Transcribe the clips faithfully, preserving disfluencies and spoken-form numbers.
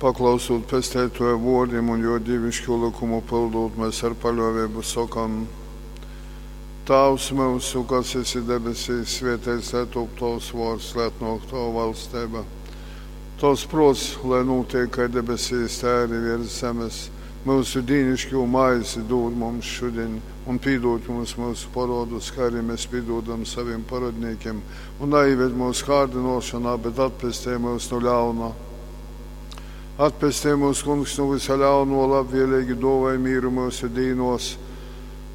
Paklausūt Pesteituoja vuordim un juo dīviškū lykumu pyldūt, mēs ar paļuoveibu sokam: Tāvs myusu, kas esi debesīs, svēteits lai top tovs vuords, lai atnuok tova valsteiba. Tovs pruots, lai nūtiek kai debesīs, tai arī viers zemes. Myusu dīniškū maizi dūd mums šudiņ, un pīdūd mums myusu porodus, kā arī mēs pīdūdam savim parodnīkim, un naieved mūsu kārdinošanā, bet atpestej mūs no ļauna. Atpestej mūs, Kungs, no visa ļauno, labvēlīgi dāvāj mīru mūsu dīnos,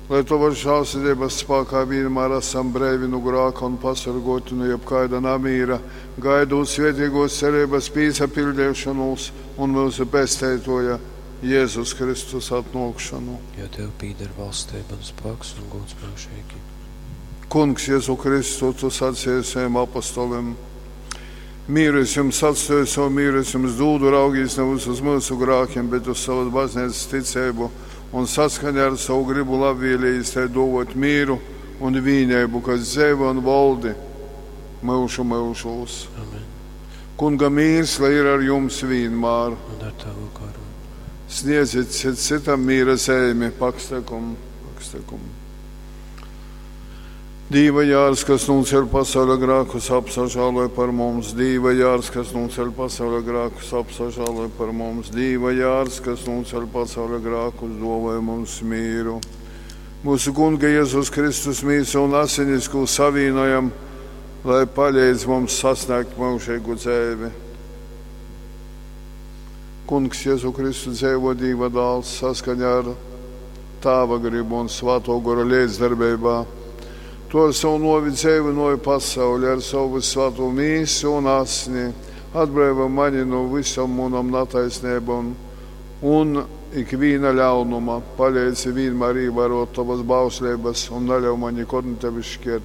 lai Tavas žēlsirdības spēkā vienmēr esam breivi no grāka un pasargoti no jebkāda namīra, gaidot svētīgos cerības pīsapildīšanos un mūsu pesteitoja Jēzus Kristus atnākšanu. Jo Tev pīder valstība un spēks un gods mūžīgi. Kungs, Jēzu Kristu, Tu sacīji saviem apostoliem: Mīru es jums atstāju, savu mīru es jums dūdu, raugīs nevis uz mūsu grākiem, bet uz savas baznīcas ticību un saskaņā ar savu gribu labvēlījis tai dovot mīru un vīneibu, kas dzeivo un valdi mūžu mūžos. Amen. Kunga mīrs, lai ir ar jums vienmēr. Un ar tavu garu. Sniedziet cits citam mīra zeimi, pakstekum, pakstekum. Dīva jārs, kas nūceļ pasauļa grākus, apsažāloj par mums. Dīva jārs, kas nūceļ pasauļa grākus, apsažāloj par mums. Dīva jārs, kas nūceļ pasauļa grākus, dāvāj mums mīru. Mūsu Kunga Jēzus Kristus mīsu un asinis, ko savīnojam, lai palīdz mums sasniegt mūžīgu dzīvi. Kungs Jēzu Kristu dzīvo Dīva dāls saskaņā ar Tāva gribu un Svēto Gora līdzdarbībā. Tu ar savu novi dzīvinoji pasauli, ar savu svēto mīsu un asni, atbrīvo mani no visam munam nataisnībām un ikviena ļaunuma. Palīdzi vienmēr ievērot tavas bauslības un neļauj man nekad no tevis šķirties.